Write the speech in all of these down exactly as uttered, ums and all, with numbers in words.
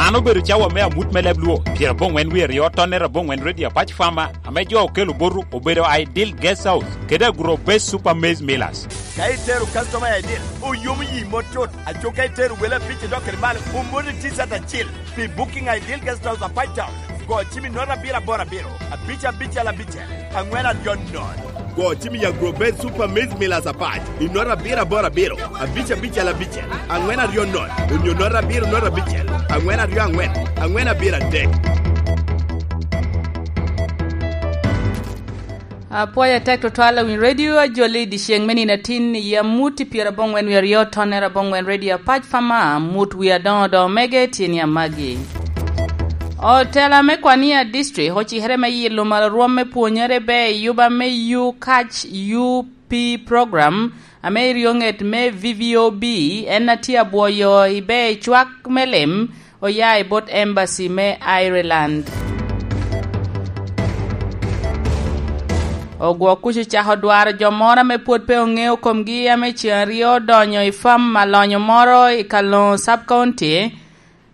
An obedo cawa me amut me leb Luo, pyerabongwen wie aryo tonne abongwen Radio Apac Farmer, ame jo okelo botu obedo Ideal Guest House, kede Agro Base Super Maize Millers. Ka itero customer i Ideal, oyomo yi mot tut. Aco ka itero wele abic idok kede malo, omoni T-shirt acil. Pi booking Ideal Guest House Apac Town, go cim i nota abiro aboro abiro, abic abicel abicel, angwen aryo nono. Go cim i Agro Base Super Maize Millers Apac i nota abiro aboro abiro, abic abicel abicel, angwen aryo nono, onyo nota abiro nota abicel, angwen aryo angwen, angwen abiro adek. Apwoyo atek tutwal awiny redio ajoli i dyeceŋ me nino atin i amut i pyerabongwen wie aryo tonne abongwen redio Apac Farmer, amut wie adoŋo doŋ mege tye ni amagi. Otela me Kwania District ocikere me yilo malo rwom me pwonyere ber i yuba me U-Catch U P program ame i ryoŋet me V V O B, en a tye abwoyo i ber i cwak me lim oya i bot embassy me Ireland. Ogwok kuc ocako dwaro jo moro ame pwod pe oŋeo komgi ame ceŋ aryo odonyo i fam alonyo moro i Kaloŋo Sub County,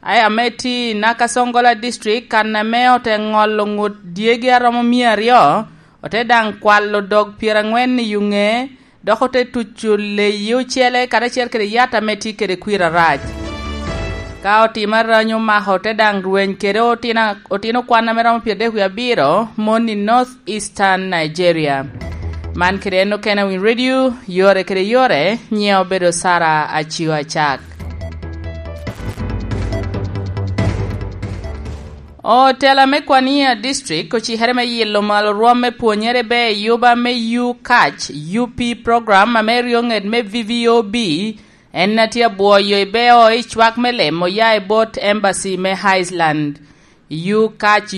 ae ame tye i Nakasongola District, kan ame ote ŋolo ŋut dyegi aromo mia aryo, ote daŋ kwalo dog pyerangwen i yuŋe, dok ote tuco leyi ocele karacel kede yat ame tye kede kwir arac. Ka otimo aranyo omako, ote daŋ rweny kede otino, otino kwan ame romo pyeradek wie abiro, mon i North Eastern Nigeria. Man kede en okene Win Radio, yore kede yore, nyiŋe obedo Sara Acio Acak. Otela me Kwania District ocikere me yilo malo rwom me pwonyere ber i yuba me U-Catch U P program ame ryoŋet me V V O B, en a tye abwoyo i beo i cwak me lemo oya i bot embassy me Iceland. U-Catch U